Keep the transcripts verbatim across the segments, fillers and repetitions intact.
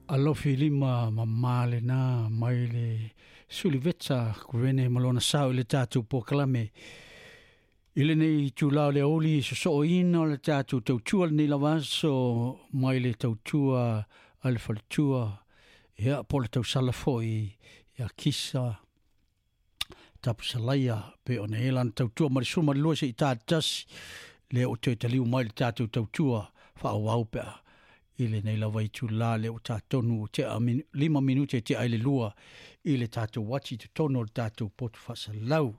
Alofi lima mamale na mai le Suliveta kuvene malona sao i le tatou polokalame. I lenei itulā o le aoauli sosooina o le tatou tautua lenei lava aso mai le tautua a le faletua, ia po o le tausala foi ia Kisa Tapusalaia pe ona e lana tautua ma le suma le lua se'i tatasi lea ua toe taliu mai le tatou tautua faaauau pe a i lenei lava itulā lea ua tatonu tea lima minute tea ai le lua i le tatou uati i totonu o le tatou potu faasalau.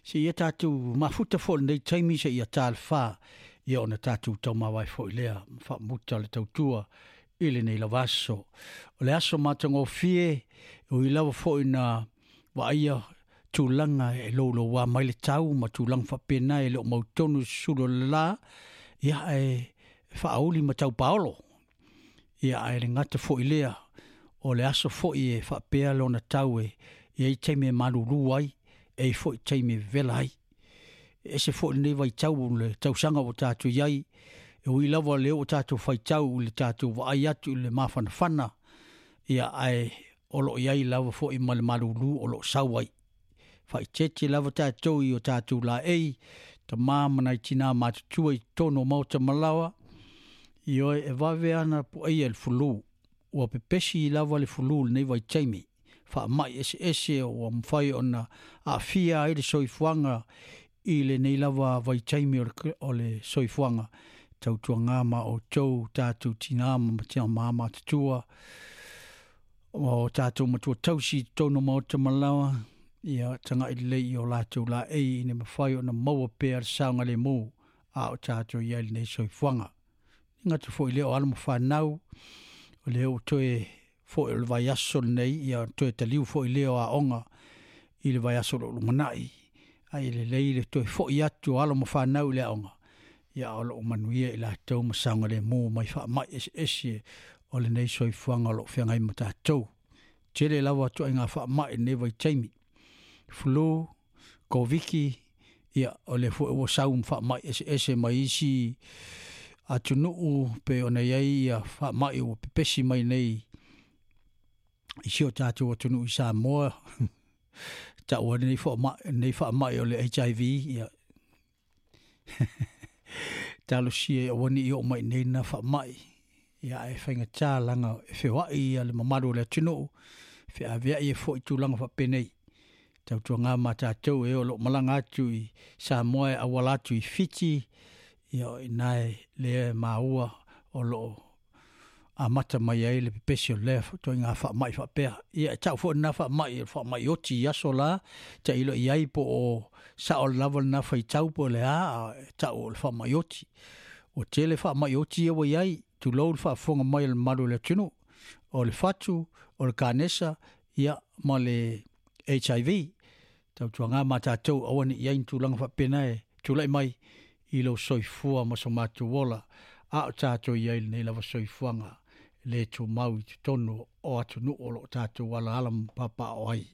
Seia tatou mafuta foi i lenei taimi seia ta le fa, ia ona tatou taumavae foi lea ma faamuta le tautua i lenei lava aso. O le aso matagofie, e ui lava foi na vaaia tulaga e louloua mai le tau ma tulaga faapena e le o mautonu i susulu o le la, ia ae faauli ma taupaolo. Ia ae le gata foi lea, o le aso foi e faapea lona tau e i ai taimi e malulu ai, e i foi taimi e vevela ai. E ese foi lenei vaitau o le tausaga ua tatou i ai, e ui lava lea ua tatou faitau i le tatou vaai atu i le mafanafana, ia ae o lo o i ai lava foi ma le malulu o lo o sau ai. Faaeteete lava tatou i o tatou laei, tama ma nai tinā matutua i totonu o maota ma laoa, ioe e vave ana puaia i le fulu. Ua pepesi lava le fulu i lenei vaitaimi. Faamai eseese ua mafai ona aafia ai le soifuaga i lenei lava vaitaimi o le soifuaga. Tautuaga ma outou tatou tinā ma tama matutua, o tatou matua tausi i totonu o maota ma laoa, ia tagai lelei i o latou laei ina mafai ona maua pea le saogalemu a o tatou i ai lenei soifuaga. E gata foi lea o alo ma fanau, o lea ua toe foi o le vaiaso lenei, ia toe taliu foi lea o aoga i le vaiaso o lo o lumanai. Ae lelei le toe foi atu o alo ma fanau i le aoga, ia o lo o manuia i latou ma saogalemu mai faamai eseese o lenei soifuaga o lo o feagai ma tatou. Tele lava ituaiga faamai i lenei vaitaimi. Flu, Koviki, ia o lea foi ua sau ma faamai eseese mai isi atunuu pe ona i ai ia faamai ua pepesi mai nei i si o tatou atunuu i Samoa. Taua lenei faamai, lenei faamai o le H I V, ia talosia aua ne i oo mai nei na faamai, ia ae faigata laga e feoai ia le mamalu o le atunuu, feaveai ai foi tulaga faapenei. Tautuaga ma tatou e o lo o malaga atu i Samoa e auala atu i Fiti, ia o ina e lea e maua o lo o amata mai ai le pepesi o lea ituaiga faamai faapea. Ia e tau foi lena faamai, o le faamai oti i aso la, tailo i ai po o sao lava lena faitau po o le a, e tau o le faamai oti. Ua tele faamai oti ia ua i ai, tulou le faafofoga mai a le mamalu o le atunuu, o le fatu, o le kanesa, ia ma le H I V. Tautuaga ma tatou aua ne i ai ni tulaga faapena e tulai mai i lou soifua ma so matou ola, a o tatou i ai lenei lava soifuaga le tumau i totonu o atunuu o lo o tatou alaala ma papaaao ai.